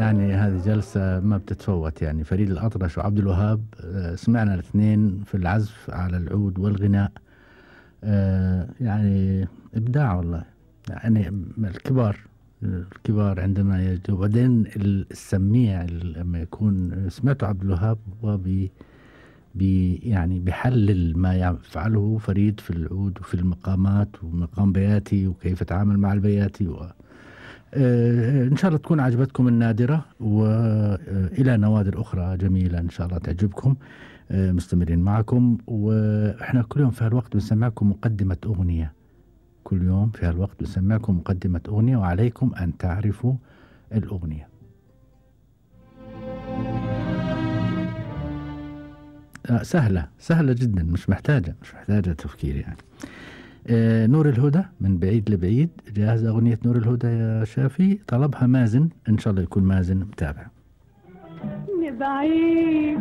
يعني هذه جلسة ما بتتفوت، يعني فريد الأطرش وعبد الوهاب سمعنا الاثنين في العزف على العود والغناء، يعني إبداع والله. يعني الكبار عندما يجوا، وبعدين السميع لما يكون سمعته عبد الوهاب هو يعني بيحلل ما يفعله فريد في العود وفي المقامات ومقام بياتي وكيف يتعامل مع البياتي إن شاء الله تكون عجبتكم النادرة، وإلى نوادر أخرى جميلة إن شاء الله تعجبكم. مستمرين معكم، وإحنا كل يوم في هالوقت بنسمعكم مقدمة أغنية، كل يوم في هالوقت بنسمعكم مقدمة أغنية، وعليكم أن تعرفوا الأغنية. سهلة جدا، مش محتاجة تفكير يعني. نور الهدى من بعيد لبعيد، جاهزة أغنية نور الهدى يا شافي؟ طلبها مازن، إن شاء الله يكون مازن متابع. لبعيد